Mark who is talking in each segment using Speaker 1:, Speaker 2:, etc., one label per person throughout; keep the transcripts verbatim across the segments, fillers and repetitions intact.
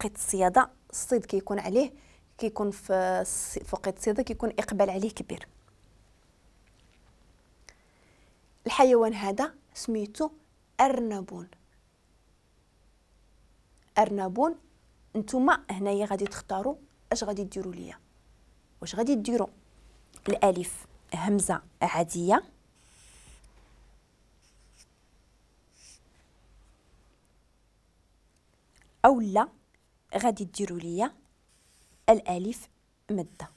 Speaker 1: وقت الصياده الصيد كيكون عليه، كيكون في وقت الصياده كيكون اقبال عليه كبير. الحيوان هذا سميتو ارنبون. ارنبون. نتوما هنايا غادي تختاروا اش غادي ديروا ليا. واش غادي ديروا الالف همزه عادية او لا غادي ديروا ليا الالف مده؟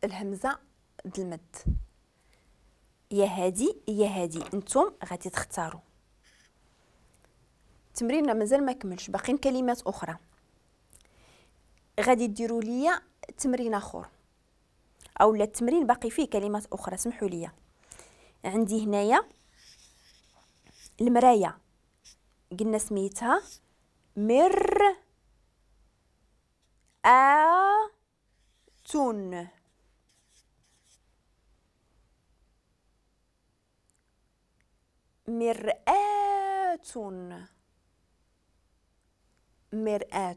Speaker 1: الهمزة د المد، يا هادي يا هادي، نتوم غادي تختاروا. تمريننا مازال ما كملش، باقيين كلمات اخرى. غادي ديروا ليا تمرين اخر، او لا التمرين باقي فيه كلمات اخرى، سمحوا لي. عندي هنايا المراية، قلنا سميتها مر آ تون. مرآة، مرآة.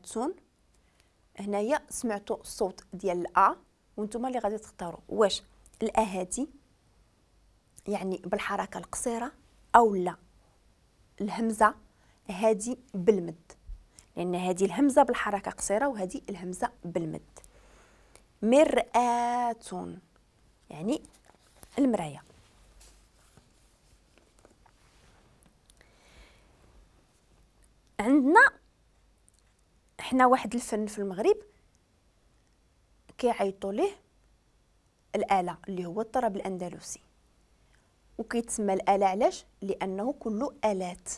Speaker 1: هنايا سمعتوا الصوت ديال الأ، وانتم اللي غادي تختاروا واش الأ هادي يعني بالحركة القصيرة أو لا الهمزة هادي بالمد، لأن هادي الهمزة بالحركة قصيرة وهادي الهمزة بالمد. مرآة يعني المراية. عندنا حنا واحد الفن في المغرب كيعيطوا ليه الآلة اللي هو الطرب الأندلسي، وكيتسمى الآلة علاش؟ لأنه كله آلات،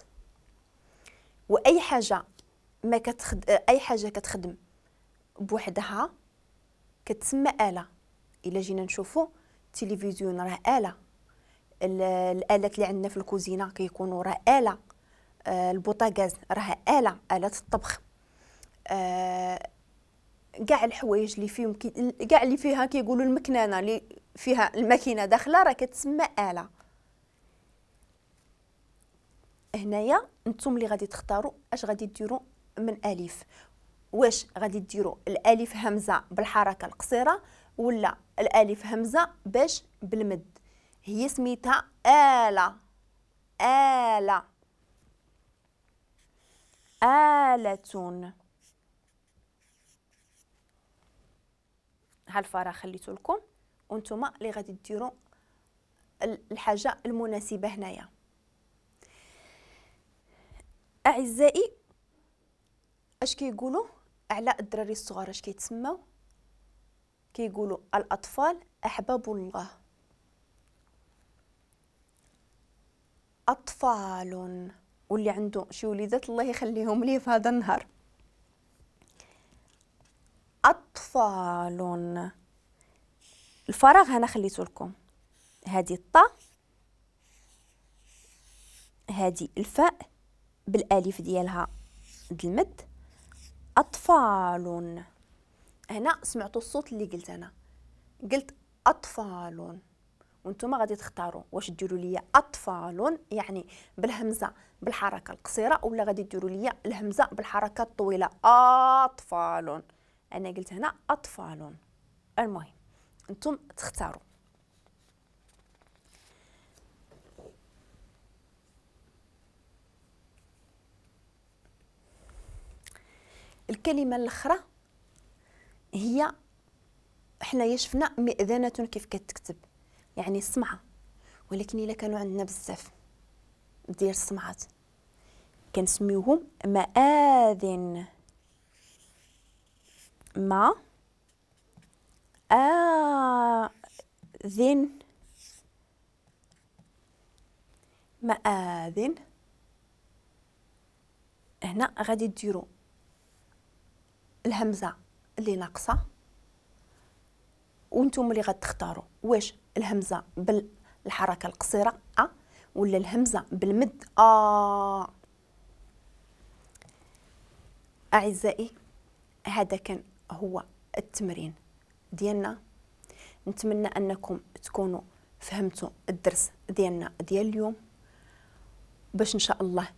Speaker 1: وأي حاجة ما كتخد... أي حاجة كتخدم بوحدها كتسمى آلة. إلا جينا نشوفوا التلفزيون راه آلة، الآلات اللي عندنا في الكوزينة كيكونوا راه آلة، البوطاغاز راه آلة، آلة الطبخ، آه كاع الحوايج اللي فيهم كاع اللي فيها كيقولوا المكنانه اللي فيها الماكينة داخله راه كتسمى آلة. هنايا نتوما اللي غادي تختاروا اش غادي ديروا من الف، واش غادي ديروا الالف همزه بالحركة القصيرة ولا الالف همزه باش بالمد. هي سميتها آلة، آلة، آلة. هالفراغ خليته لكم وانتم اللي غادي ديروا الحاجة المناسبة هنايا. اعزائي اش كيقولوا على الدراري الصغار؟ اش كيتسموا؟ كيقولوا الاطفال احباب الله. اطفال، واللي عنده شي وليدات الله يخليهم ليه في هذا النهار. أطفال. الفراغ هنا خليته لكم، هذه الطاء، هذه الفاء بالالف ديالها د المد، أطفال. هنا سمعتوا الصوت اللي قلت أنا، قلت أطفال، وانتم غادي تختاروا واش ديروا ليا أطفال يعني بالهمزة بالحركة القصيرة ولا غادي ديروا ليا الهمزة بالحركة الطويلة أطفال. أنا قلت هنا أطفال. المهم أنتم تختاروا. الكلمة الأخرى هي حنايا شفنا مئذنة كيف كتكتب يعني السمعة، ولكن إلا كانوا عندنا بزاف ديال السمعات كنسميوهم مآذن. ما آذن، مآذن. هنا غادي ديروا الهمزة اللي ناقصة وانتم اللي غتختاروا واش الهمزة بالحركة القصيرة أ ولا الهمزة بالمد آ. أعزائي هذا كان هو التمرين ديالنا. نتمنى أنكم تكونوا فهمتوا الدرس ديالنا ديال اليوم، باش إن شاء الله